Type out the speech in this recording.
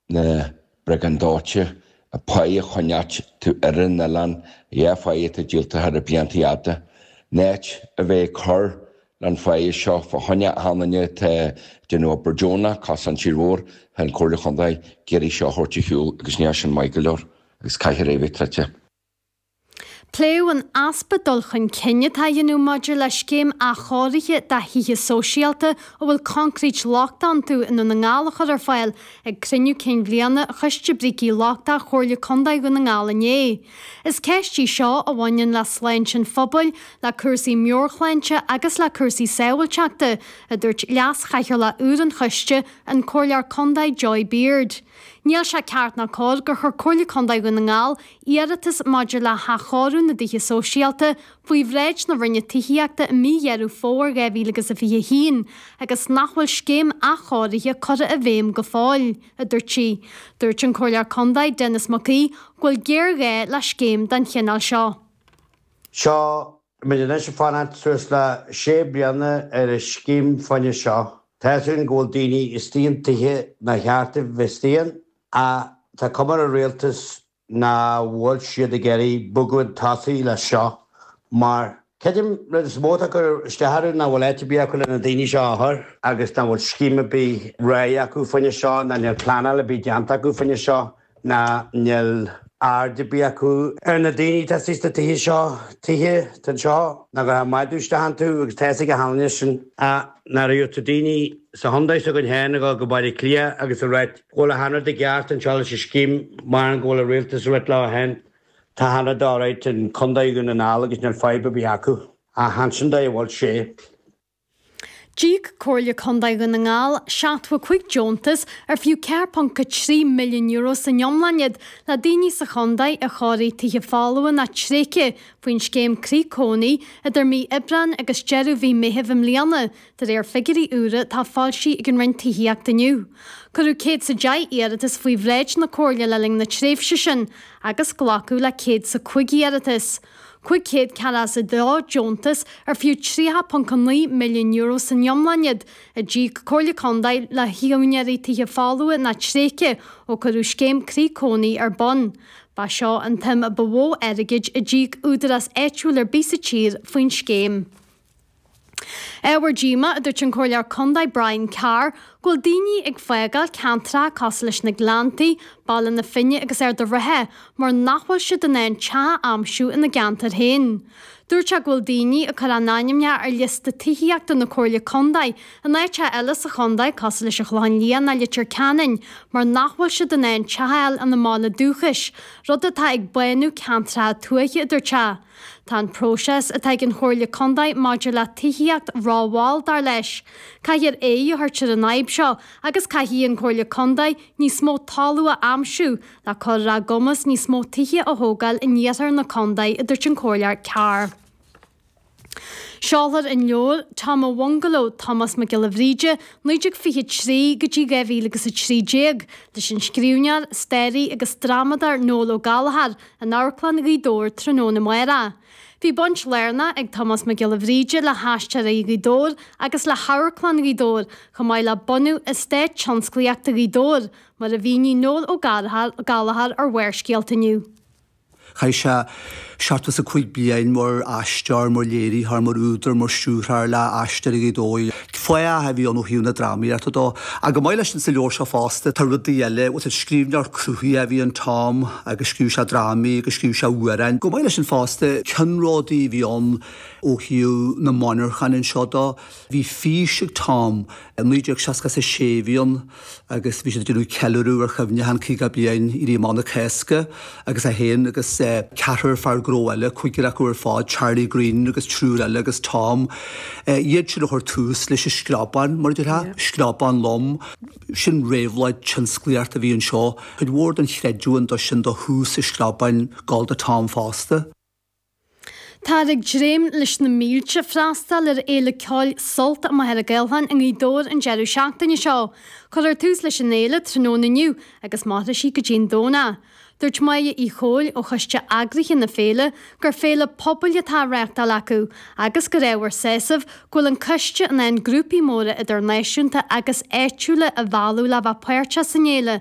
Na bréagáin dóite, an pháigh a choinneáilt ar an oileán, dhá pháigh atá díolta thar na blianta fhada. In áit a bheith ag cur leis an pháighe seo fá choinne achan duine atá ag déanamh obair deonach, cosán tír mhór, tá an Comhairle Chontae ag iarraidh seo a thabhairt ar shiúl agus níl sin maith go leor agus caithfear é a bheith troidte. Pléadh an easpa dul chun cinn atá á dhéanamh maidir le scéim athchóirithe de thithe sóisialta a bhfuil coincréit lochtach iontu i nDún na nGall a chur ar fáil ag cruinniú cinn bhliana Choiste Brící Lochtacha Chomhairle Contae Dhún na nGall inné. Is ceist í seo a bhaineann le sláinte an phobail, le cúrsaí meabhairshláinte agus le cúrsaí sábháilteachta, a dúirt Leas-Chathaoirleach úr an choiste, an Comhairleoir Contae Joy Beard. Níl sé ceart ná cóir gur chuir Comhairle Contae Dhún na nGall iarratas maidir le hathchóiriú na dtithe sóisialta faoi bhráid na Roinne Tithíochta i mí Dheireadh Fómhair 2021 agus nach bhfuil scéim athchóirithe curtha i bhfeidhm go fóill, a dúirt sí. Dúirt an Comhairleoir Contae Denis Mac Aoidh go bhfuil géarghá le scéim den chineál seo. Seo muid anois ag fanacht suas le sé bliana ar an scéim fá choinne seo. Tá fhios againn go bhfuil daoine istigh in tithe nár cheart dóibh bheith istigh ann ach tá cuma ar an rialtas nach bhfuil siad ag iarraidh bogadh chun tosaigh leis seo mar creidim rud is mó atá ag cur isteach orthu nach bhfuil áit ar bith acu le na daoine seo a chur agus nach bhfuil scéim ar bith réidh acu fá choinne seo ná níl pleanáil ar bith déanta acu fá choinne seo. ná níl aird ar bith acu ar na daoine atá istigh sna tithe seo, tithe atá anseo nach gcuirfeá madadh isteach iontu agus tá fhios ag achan duine sin. Ach nach raibh tá daoine sa chontae s'againn féin ag dul go Baile Átha Cliath agus ag ráit go bhfuil achan rud i gceart anseo leis an scéim mar go bhfuil an rialtas ag rith leo féin. Tá achan rud alright in Contae Dhún na nGall agus níl fadhb ar bith acu. Ach ansin dóigh a bhfuil sé. D'íoc Comhairle Contae Dhún na nGall 75 deontas ar fiú €4.3 milliún san iomlán iad le daoine sa chontae a chóirigh tithe folmha nó tréigthe faoin scéim Croí Cónaí idir mí Aibreáin agus deireadh mhí Meithimh i mbliana, de réir figiúirí úra atá foilsithe ag an Roinn Tithíochta inniu. Cuireadh 110 iarratas faoi bhráid na Comhairle le linn na tréimhse sin agus glacadh le 105 iarratas. 542 deontas ar fiú €30.9 milliún san iomlán iad, a d'íoc Comhairle Contae le húinéirí tithe folmha nó tréigthe ó cuireadh scéim Croí Cónaí ar bun. Ba seo an tsuim ba mhó airgid a d'íoc údarás áitiúil ar bith sa tír faoin scéim. Ábhar díomá, a dúirt an Comhairleoir Contae Brian Carr, go bhfuil daoine ag fágáil ceantracha cosúil leis na Gleanntaí, Baile na Finne agus Ard a' Rátha mar nach bhfuil siad in ann teach a aimsiú ina gceantar féin. Dúirt sé go bhfuil daoine ag cur a n-ainmneacha ar liosta tithíochta na Comhairle Contae in áiteacha eile sa chontae cosúil leis an Chlochán Liath nó Leitir Ceanainn mar nach bhfuil siad in ann teach a fháil ina mbaile dúchais, rud atá ag bánú ceantracha tuaithe, a dúirt sé. Tá an próiseas atá ag an Chomhairle Contae maidir le tithíocht rómhall, dar leis. Caithfear aghaidh a thabhairt ar an fhadhb seo agus caithfidh an Chomhairle Contae níos mó talún a aimsiú le cur ar a gcumas níos mó tithe a thógáil in iarthar na contae, a dúirt an Comhairleoir Carr. Seolfar an leabhar Tom a' Bhungaló, Tomás Mac Giolla Bhríde, 1923 go dtí 2013, leis an scríbhneoir, staraí agus drámadóir Noel Ó Gallchóir, in Amharclann Ghaoth Dobhair tráthnóna amárach. Bhí baint lárnach ag Tomás Mac Giolla Bhríde le hAisteoirí Ghaoth Dobhair agus le hAmharclann Ghaoth Dobhair, chomh maith le bunú Eastát Tionsclaíochta Ghaoth Dobhair, mar a mhínigh Noel Ó Gallchóir ar Bharrscéalta inniu. Chaith sé 75 bliain mar aisteoir, mar léiritheoir, mar údar, mar stiúrthóir le Aisteoirí Ghaoth Dobhair. Fathach a bhí ann ó thaobh na drámaíochta dó. Ach chomh maith leis sin sa leabhar seo fosta tá rudaí eile, bhuel scríbhneoir cruthaitheach a bhí in Tom agus scríobh sé drámaí agus scríobh sé amhráin. Chomh maith leis sin fosta ceannródaí a bhí ann ó thaobh na monarchan anseo dó. Bhí fís ag Tom, i 1966 a bhí ann agus bhí siad ag déanamh ceiliúradh ar chuimhneachán 50 bliain Éirí Amach na Cásca agus é féin agus ceathrar fear gnó eile, cúigear acu ar fad, Charlie Greene agus triúr eile agus Tom, iad sin a chuir tús leis an screabán, mar a déarfá, screabán lom. Sin réabhlóid tionsclaíochta a bhí anseo. Cuid mhór den chreidiúint do sin do thús an screabáin ag gabháil do Tom fosta. Táthar ag dréim leis na mílte freastal ar Fhéile Ceoil Sult i Machaire Gaorthlan i nGaoth Dobhair an deireadh seachtaine seo. Cuirfear tús leis an fhéile tráthnóna inniu agus mairfidh sí go dtí an Domhnach. Dúirt Máire Uí Chomhaill ó choiste eagraithe na féile gur féile pobail atá á reáchtáil acu agus gur ábhar sásaimh go bhfuil an coiste in ann grúpaí móra idirnáisiúnta agus áitiúla a mhealladh le bheith páirteach san fhéile.